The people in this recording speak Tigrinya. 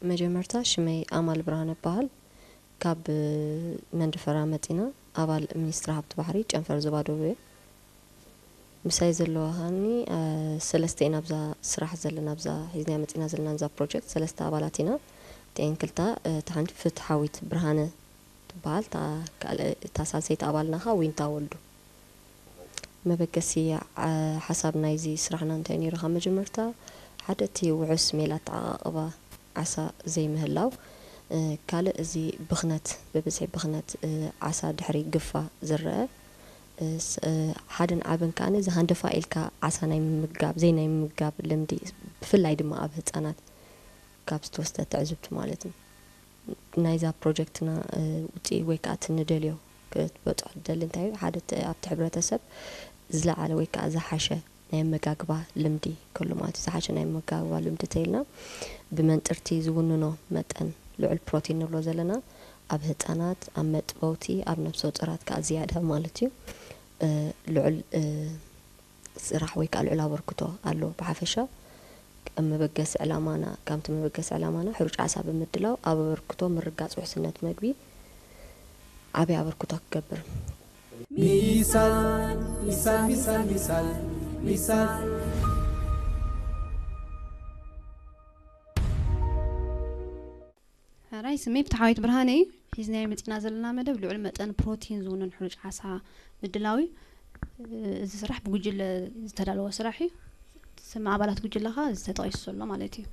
መጀመርታ ሽመይ ኣማል ብርሃነ እበሃል። ካብ መንደፈራ መጺና፣ ኣባል ሚኒስትሪ ሃብቲ ባሕሪ ጨንፈር ዞባ ደቡብ እየ። ምሳይ ዘለዋ ከኣኒ ሰለስተ ኢና ኣብዛ ስራሕ ዘለና፣ ኣብዛ ሒዝና መጺና ዘለና እዛ ፕሮጀክት ሰለስተ ኣባላት ኢና። እቲኤን ክልተ፣ እታ ሓንቲ ፍትሓዊት ብርሃነ ትበሃል፣ እታ ካልእ እታ ሳልሰይቲ ኣባልና ኸኣ ዊንታ ወልዱ። መበገሲ ሓሳብ ናይዚ ስራሕና እንታይ ነይሩ? ካብ መጀመርታ ሓደ እቲ ውሑስ ሜላ ኣተዓቓቕባ ዓሳ ዘይምህላው፣ ካልእ እዚ ብኽነት፣ ብብዝሒ ብኽነት ዓሳ ድሕሪ ግፋ ዝረአ፣ ሓደን ዓብን ከኣ እዚ ሃንደፋ ኢልካ ዓሳ ናይ ምምጋብ፣ ዘይናይ ምምጋብ ልምዲ፣ ብፍላይ ድማ ኣብ ህጻናት ካብ ዝተወስደ ትዕዝብቲ ማለት እዩ። ናይዛ ፕሮጀክትና ውፅኢ ወይ ከዓ ትንደልዮ ክትበፅሖ ትደሊ እንታይ እዩ? ሓደ ኣብቲ ሕብረተሰብ ዝለዓለ ወይ ከዓ ዝሓሸ ናይ ኣመጋግባ ልምዲ ከሎ ማለት እዩ። ዝሓሸ ናይ ኣመጋግባ ልምዲ ተይልና ብመንጥርቲ ዝውንኖ መጠን ልዑል ፕሮቲን ንብሎ ዘለና ኣብ ህፃናት፣ ኣብ መጥበውቲ፣ ኣብ ነብሰ ጡራት ከዓ ዝያዳ ማለት እዩ። ልዑል ስራሕ ወይ ከዓ ልዑል ኣበርክቶ ኣሎ። ብሓፈሻ ከም መበገሲ ዕላማና፣ ከምቲ መበገሲ ዕላማና ሕሩጭ ዓሳ ብምድላው ኣብ ኣበርክቶ ምርጋፅ ውሕስነት መግቢ ዓብይ ኣበርክቶ ክገብር። ሚሳል ሚሳል ሚሳል ሚሳል ሚሳል ሕራይ ስመይ ፍትሓዊት ብርሃነ እዩ። ሒዝናዮ መፂና ዘለና መደብ ልዑል መጠን ፕሮቲን ዝውንን ሕሩጭ ዓሳ ምድላው እዩ። እዚ ስራሕ ብጉጅለ ዝተዳለወ ስራሕ እዩ። ስም ኣባላት ጉጅለ ኸኣ እዚ ተጠቒሱ ዘሎ ማለት እዩ።